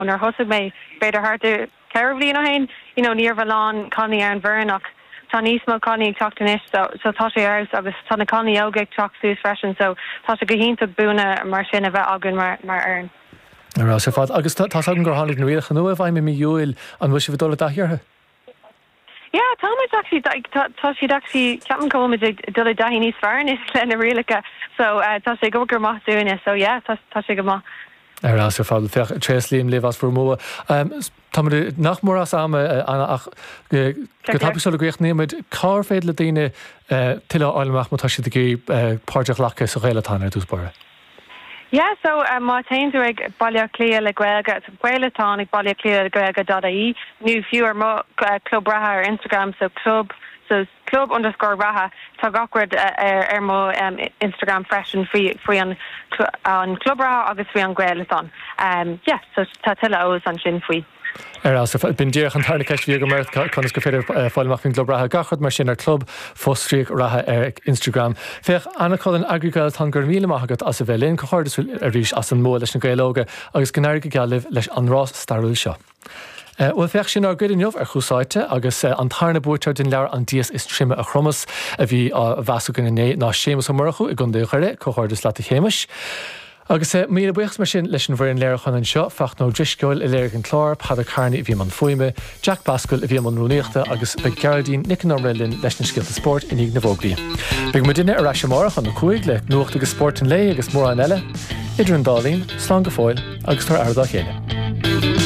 Nuair a thosaigh mé, b'fhéidir thart ar 4 bhliain ó shin, you know, ní raibh a lán cailíní ar an bhfoireann ach tá níos mó cailíní ag teacht anois so, so tá sé ar fheabhas agus tá na cailíní óga ag teacht suas freisin so tá sé go hiontach buanna mar sin a bheith againn mar, mar fhoireann. Ar fheabhas ar fad. Agus tá 's agam gur tháinig na rialacha nua i bhfeidhm i mí Iúil, an bhfuil sibh ag dul i dtaithí orthu? Yeah, tá muid actually, tá, tá siad actually, ceapaim go bhfuil muid ag dul i dtaithí níos fearr anois le na rialacha so tá sé ag obair go maith dúinne so yeah, tá, tá sé go maith. Ar fheabhas ar fad. Féach, tréaslaím libh as bhur mbua. Tá muid nach mór as am, Anna, ach go tapaidh sula gcríochnaíonn muid, cár féidir le daoine tuilleadh a fháil amach má tá siad ag iarraidh páirt a ghlacadh sa Ghaelathon ar dtús báire? Yeah, so má théann tú ag Baile Átha Cliath le Gaeilge, so Gaelathon ag Baile Átha Cliath le Gaeilge dot ie, nó fiú ar mo Club Reatha ar Instagram, so club, so club underscore reatha, tá gach rud ar ar mo Instagram freisin faoi faoi an an Club Reatha agus faoi an Gaelathon. Yeah, so tá tuilleadh eolas ansin faoi. Ar fheabhas ar fad. B'in díreach an tarna ceist a bhí agam ort, conas gur féidir fáil amach faoin gClub Reatha, gach rud mar sin ar Club fostríoc Reatha ar Instagram. Féach, Anna Cullen, Eagraí Gaelathon, go raibh míle maith agat as a bheith linn. Comhghairdeas arís as an mbua leis na Gaeil Óga agus go n-éirí go geal libh leis an rás stairiúil seo. Bhuel, féach, sin ár gcuid inniu ar Thús Áite agus an tarna buaiteoir den leabhar An Dias is Troime a Chromas a bhí á mheas againn inné ná Séamus Ó Murchú i gContae Dhoire. Comhghairdeas leat a Shéamais. Agus míle buíochas mar sin leis an bhfoireann léiriúcháin anseo, Fachtna Ó Drisceoil a léirigh an clár, Peadar Kearney a bhí i mbun fuaime, Jack Basquill a bhí i mbun rúnaíochta agus beidh Gearóidín Nic an Iomaire linn leis na scéalta spóirt i ndiaidh na bhfógraí. Beidh muidinne ar ais amárach óna 5 le nuacht agus spórt an lae agus mórán eile. Idir an dá linn, slán go fóill agus tabhair aire dá chéile.